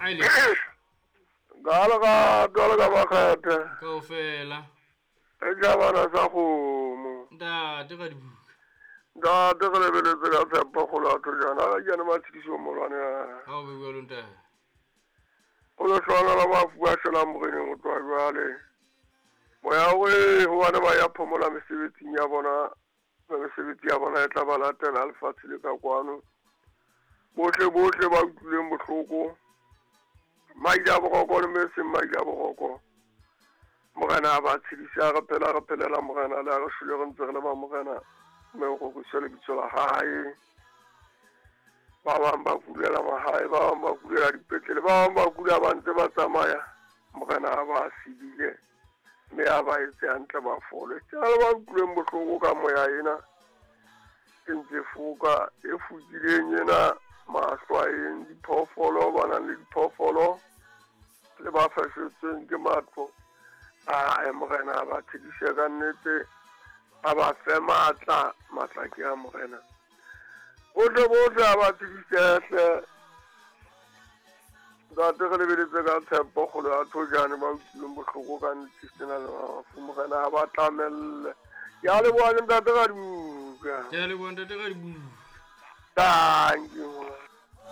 Aile. Ka lerato le ka makgethe. Kaofela. E tšhabana sa kgomo. Ntate ka dibuka. Ntate re lebeletse ka tshepo kgolo ya thojana ga jane matshediso molwane. Ha o be jwalo ntate. O le hlwana la bafu ba shwelang moreneng go tloha jwale. Moya we hobane ba ya phomola mesebetsing ya bona, mesebetsi ya bona e tla ba latela lefatshe le ka kwano. Bohle bohle ba utlwileng bohloko, maile a boroko le me seng maile a boroko, morena a ba tshedise, a re phela re phelela morena, le a re shwele re ntse re le ba morena, mme o roriswe lebitso la hae. Ba bang ba kulela mahae, ba bang ba kulela dipetlele, ba bang ba kula ba ntse ba tsamaya, morena a ba sedile mme a ba etse hantle ba fole. Ke le ba utlwileng bohloko ka moya ena e ntse foka e fokileng ena mahlwaeng, diphoofolo, ba nang le diphoofolo le ba fashetsweng ke matlo. Ae morena a ba tshedise ka nnete, a ba fe matla, matla ke a morena. Bohle bohle a ba tshedise hle. Ntate re lebeletse ka tshepo kgolo ya thojane ba utlwileng bohloko ka nnete sena le mafu, morena a ba tlamelle. Ke a leboha le ntate ka dibuka. Ke a leboha ntate ka dibuka. Thank you.